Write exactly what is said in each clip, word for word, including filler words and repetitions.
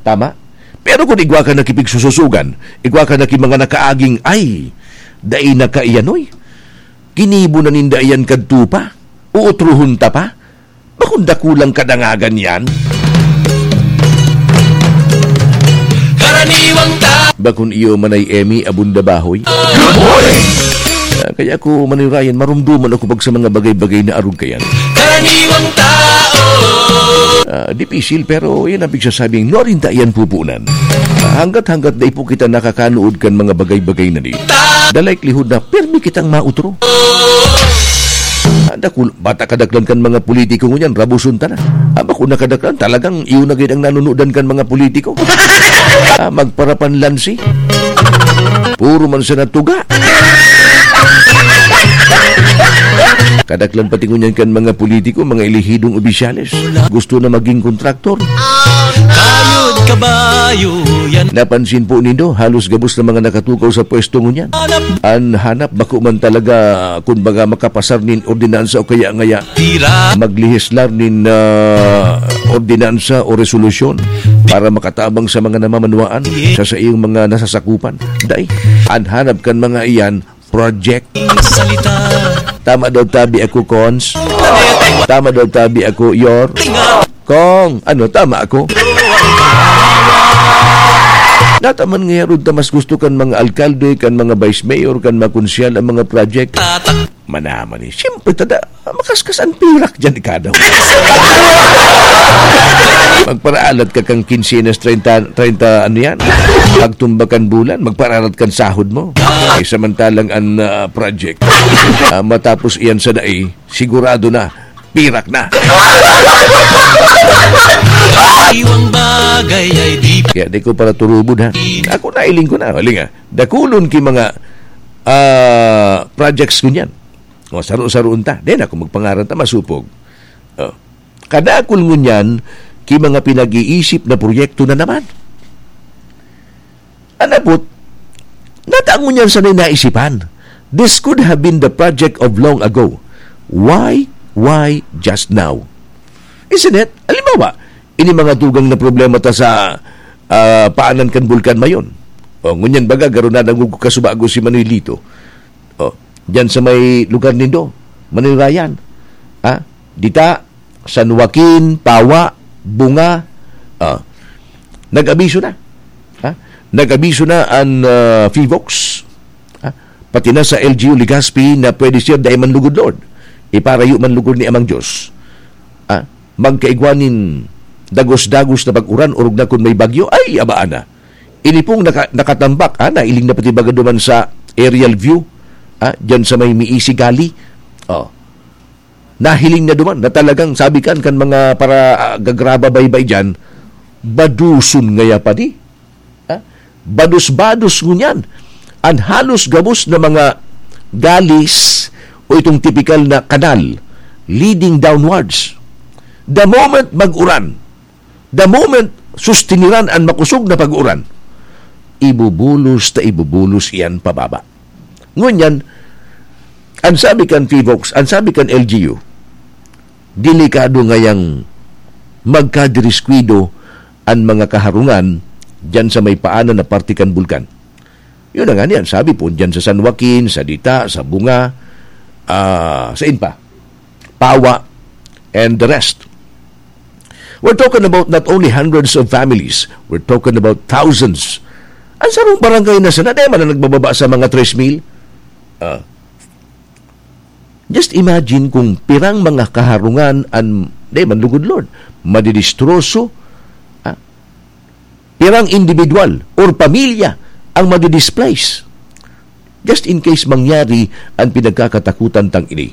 Tama? Pero kun igwa ka na ki pigsususugan, igwa ka na ki mga nakaaging, ay, dai na kaiyan, oy. Ginibo na ninda iyan kadto pa. Uutrohon ta pa. Bakong dakulang kadangagan yan? Karaniwang ta- Bakong iyo man ay Emmy Abunda Bahoy? Good morning! Ah, kaya ako, Manirayan, marumduman ako pag sa mga bagay-bagay na arog kayan. Karaniwang tao. Ah, dipisil, pero yan ang pigsasabing, nuarin ta yan pupunan. Ah, hanggat-hanggat dai po kita nakakanuod kan mga bagay-bagay na di, the likelihood na pirmi kitang mautro. Ah, dakul-, bata kadaklan kan mga politiko ngunyan, rabuson ta na. Ah, bako na kadaklan, talagang iyo na gid ang nanunudan kan mga politiko. Ah, magparapanlansi. Puro man sana tuga. Kadaklan pati ngunyan kan mga politiko, mga elehidong opisyales. Gusto na maging kontraktor. Kayod kabayo yan. Napansin po nindo, halos gabos na mga nakatukaw sa pwesto ngunyan. An hanap bako man talaga, kun baga, makapasar nin ordinansa o kaya ngaya Tira. Maglehislar nin, ah, ordinansa o resolusyon para makatabang sa mga namamanwaan sa saiyang mga nasasakupan. Dai, an hanap kan mga iyan, project. Ang salita. Tama daw tabi ako, Cons. Tama daw tabi ako, Yor. Kong, ano, tama ako? Nataman nga yarod ta mas gusto kan mga alkalde, kan mga vice mayor, kan mga konsyal ang mga project. Tatak. Manaman eh. Siyempre, tada, makaskas ang pirak dyan, ikaw daw. Magparaalat ka kang kinsenas, treinta, treinta, ano yan? Pagtumba kan bulan, magparaalat kan sahod mo. Eh, samantalang ang, ah, project, ah, matapos iyan sa dai, sigurado na, pirak na. Iwang bagay ay di pa- Kaya di ko para turubod, ha? Ako, nailing ko na. Hali nga, dakulon ki mga, ah, projects ko niyan. O, saro-saroon ta. Di na ako magpangaran ta, masupog. O. Kadakul ngunyan, ki mga pinag-iisip na proyekto na naman. An abot, nata ngunyan sana'y naisipan. This could have been the project of long ago. Why, why just now? Isn't it? Halimbawa, ini mga dugang na problema ta sa, ah, paanan kan Bulkan Mayon. O, ngunyan baga, garo na nangugkasubago si Manoy Lito. O, diyan sa may lugar nindo, Manoy Ryan. Ha? Dita, San Joaquin, Pawa, Bunga. Ah, nag-abiso na. Ha? Nag-abiso na an, ah, Fivox. Ha? Pati na sa L G U Legazpi na pwede siya dai man lugod, Lord. Iparayo man lugod ni Amang Diyos. Ha? Magkaigwa nin dagos-dagos na pag-uran, orog na kun may bagyo. Ay, abaan na. Ini pong naka-, nakatambak, ah, nailing na pati baga duman sa aerial view, ah, dyan sa may Miisi Gali. Oh. Nahiling na duman na talagang sabi kan, kan mga para, ah, gagraba baybay dyan, baduson ngaya pa di. Ah, bados-bados ngunyan. An halos gabos na mga galis o itong tipikal na kanal leading downwards. The moment mag-uran, The moment sustiniran an makosog na pag-uran, ibubulos ta ibubulos iyan pababa. Ngunyan, an sabi kan Fivox, an sabi kan L G U, delikado ngayang magkadiriskwado an mga kaharungan diyan sa may paanan na parte kan bulkan. Yun na nga niyan, sabi po, dyan sa San Joaquin, sa Dita, sa Bunga, ah, sain pa? Pawa, and the rest. We're talking about not only hundreds of families, we're talking about thousands. Ang sarong barangay na sana, di man na nagbababa sa mga tres mil. Ah, just imagine kung pirang mga kaharungan an, di man lugod, Lord, madidistroso, ah, pirang individual or pamilya ang madidisplace. Just in case mangyari ang pinagkakatakutan tang ini.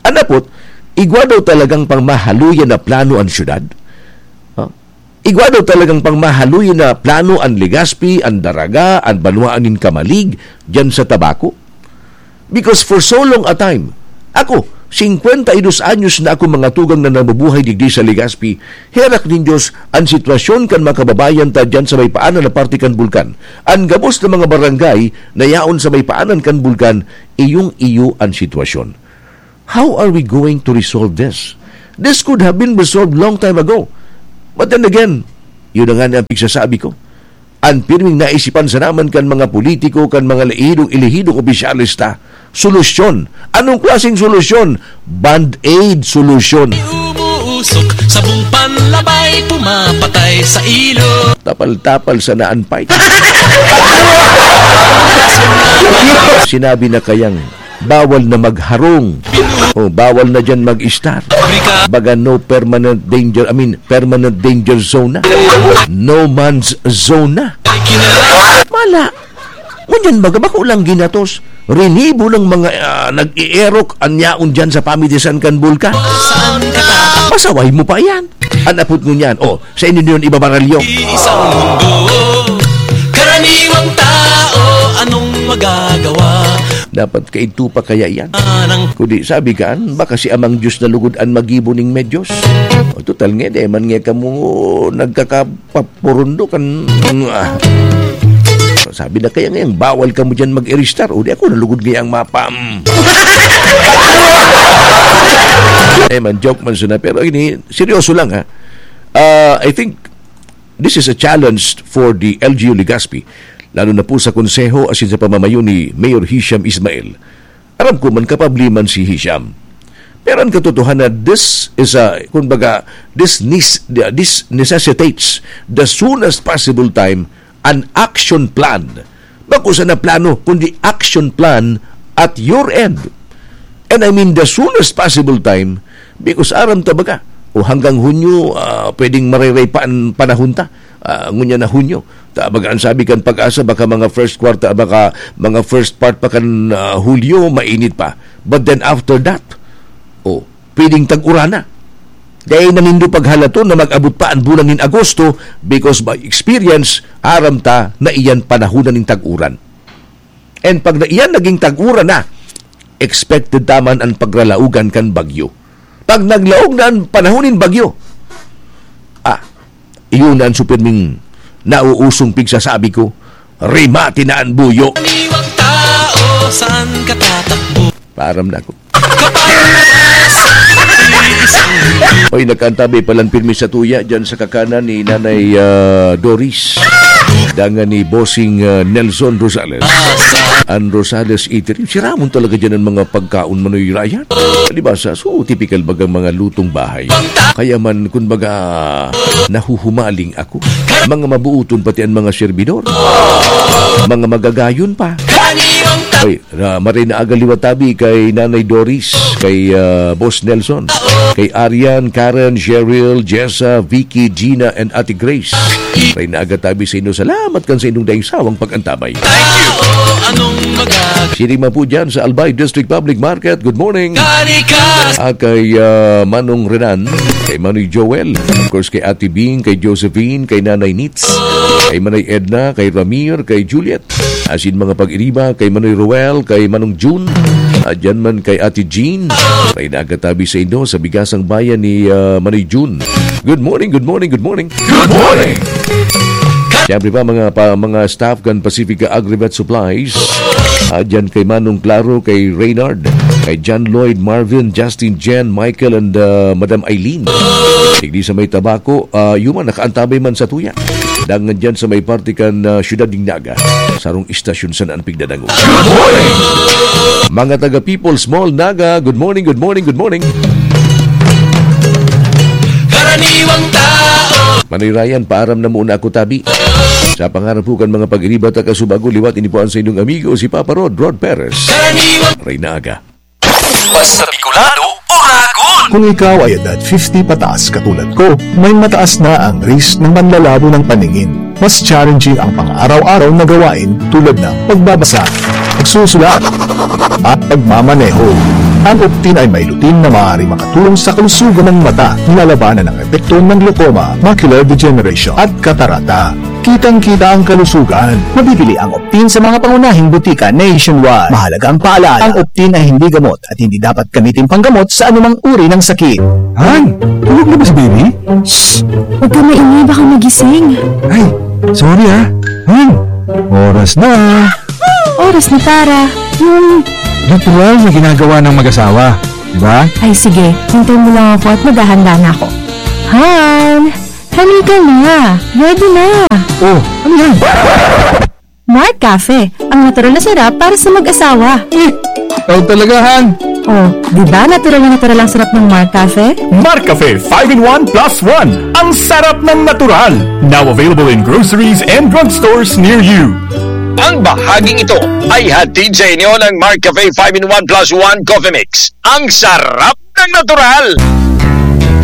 An apot, igwa daw talagang pangmahaluyan na plano an syudad? Ha? Igwa daw talagang pangmahaluyan na plano an Legazpi, an Daraga, an banwaan nin Camalig, dyan sa Tabaco? Because for so long a time, ako, singkwenta y dos anyos na ako mga tugang na nabubuhay digdi sa Legazpi, herak nin Diyos an sitwasyon kan mga kababayan ta diyan sa may paanan na parte kan bulkan. An gabos na mga barangay na yaon sa may paanan kan bulkan, iyong-iyo an sitwasyon. How are we going to resolve this? This could have been resolved long time ago. But then again, Yun na nga ang pigsasabi ko. An pirming naisipan sana man kan mga politiko, kan mga elehidong, elehidong opisyales ta, solusyon. Anong klaseng solusyon? Band-aid solusyon. Umuusok, sabong panlabay, pumapatay sa ilog. Tapal-tapal sana an pipe. Sinabi na kayang bawal na magharong. O, bawal na diyan mag-star. Baga no permanent danger, I mean, permanent danger zone na. No man's zone na. Mala. Ngunyan baga, bako lang ginatos. Rinibo ng mga, ah, nag-ierok an yaon diyan sa pamitisan kan bulkan. Pasaway mo pa yan. An apot ngunyan, oh, sa inyo yun ibabaralyo. Isang mundo, karaniwang tao, anong magagawa? Dapat kaidto pa kaya yan? Anang Kundi sabi kan, baka si Amang Diyos na lugod an magibo ning medyos. O, total nga, di man nga kamo nagkakapapurundo kan, ah. Sabi na kaya ngayang bawal kamo dyan mag-iristar. O, di ako nalugod ngayang mapa. Mm. Eh man, joke man sana. Pero ini, seryoso lang, ha. Ah, I think this is a challenge for the L G U Legazpi, lalo na po sa konseho asin sa pamamayo ni Mayor Hisham Ismail. Aram ko man, kapabli man si Hisham. Pero ang katotohanan, this is a, kumbaga, this, nis, this necessitates the soonest possible time an action plan. Bako sana plano, kundi action plan at your end. And I mean the soonest possible time, because aram ta baga, o hanggang Hunyo, ah, pwedeng mareray pa an panahon ta. Ah, ngunyan na Hunyo. Ta baga an sabi kan Pag-asa, baka mga first quarter, baka mga first part pa kan, ah, Hulyo, mainit pa. But then after that, oh, pwedeng tag-uran na. Dai na nindo paghalaton na mag-abot pa an bulan nin Agosto, because by experience, aram ta na iyan panahon na nin tag-uran. And pag na iyan naging tag-uran na, expected ta man an pagralaogan kan bagyo. Pag naglaog na an panahon nin bagyo, ah, iyon na an supirming nauusong pigsasabi ko, rimati na an buyo. Karaniwang tao, saan ka tatakbo? Paaram na ako. Oy, nakaantabay palan pirmi sa tuya dyan sa kakanan ni Nanay, ah, Doris. Dangan ni Bossing, ah, Nelson Rosales. An Rosales Eatery. Siramon talaga dyan ang mga pagkaon, Manoy Ryan. Palibasa, so, typical bagang mga lutong bahay. Kaya man, kun baga, nahuhumaling ako. Mga mabuuton pati ang mga servidor. Mga magagayon pa. Oy, na, maray na aga liwat tabi kay Nanay Doris, kay, ah, Boss Nelson, kay Arian, Karen, Cheryl, Jessa, Vicky, Gina, and Ate Grace. Maray na aga tabi sa inyo. Salamat kan sa inyong daing sawang pag-antabay. Thank you. Anong magagawa? Sino man po dyan sa Albay District Public Market, good morning. Karikas. Ah, kay, ah, Manong Renan, kay Manoy Joel, of course, kay Ate Bing, kay Josephine, kay Nanay Nitz, kay Manay Edna, kay Ramir, kay Juliet, asin mga pag-iriba kay Manoy Roel, kay Manong Jun, ah, dyan man kay Ate Jean. Maray na aga tabi sa inyo sa Bigasang Bayan ni, ah, Manoy Jun. Good morning, good morning, good morning. Good morning! Siyempre pa, mga, pa, mga staff kan Pacifica Agrivet Supplies, ah, dyan kay Manong Claro, kay Reynard, kay John Lloyd, Marvin, Justin, Jen, Michael, and, ah, Madam Eileen. Digdi sa may Tabaco, ah, yuman, nakaantabay man sa tuya. Dangan dyan sa may parte kan, ah, Siyudad nin Naga. Sarong istasyon sana an pigdadangog. Mga taga People's Mall Naga, good morning, good morning, good morning. Karaniwang tao. Manoy Ryan, paaram na muna ako, tabi. Sa pangarap po kan mga pag-iriba ta kasubago, liwat ini po ang sa inyong amigo, si Papa Rod, Rod Perez. Karaniwang Rey Naga. Basta Bicolano, Oragon! Kung ikaw ay edad fifty pataas katulad ko, may mataas na ang risk ng manlalabo ng paningin. Mas challenging ang pang-araw-araw na gawain tulad ng pagbabasa, pagsusulat, at pagmamaneho. Ang Optin ay may lutein na maaaring makatulong sa kalusugan ng mata, nilalabanan ang epekto ng glaucoma, macular degeneration, at katarata. Kitang-kita ang kalusugan. Mabibili ang Optin sa mga pangunahing butika nationwide. Mahalagang paalala, ang Optin ay hindi gamot at hindi dapat gamitin panggamot sa anumang uri ng sakit. Han, tulog na ba si baby? Shh! Huwag ka maingay, baka magising. Ay, sorry ah. Han, oras na. Oras na para yung Ritual na ginagawa ng mag-asawa, di ba? Ay, sige. Hintay mo lang ako at maghahanda na ako. Han! Ano ka na? Ready na! Oh, ano yan? Mark Cafe, ang natural na sarap para sa mag-asawa. Eh, ikaw talaga, Han. Oh, di ba natural na natural ang sarap ng Mark Cafe? Mark Cafe five in one plus one. Ang sarap ng natural. Now available in groceries and drugstores near you. Ang bahaging ito ay hatid sa inyo ng Mark Cafe five in one plus one Coffee Mix. Ang sarap ng natural!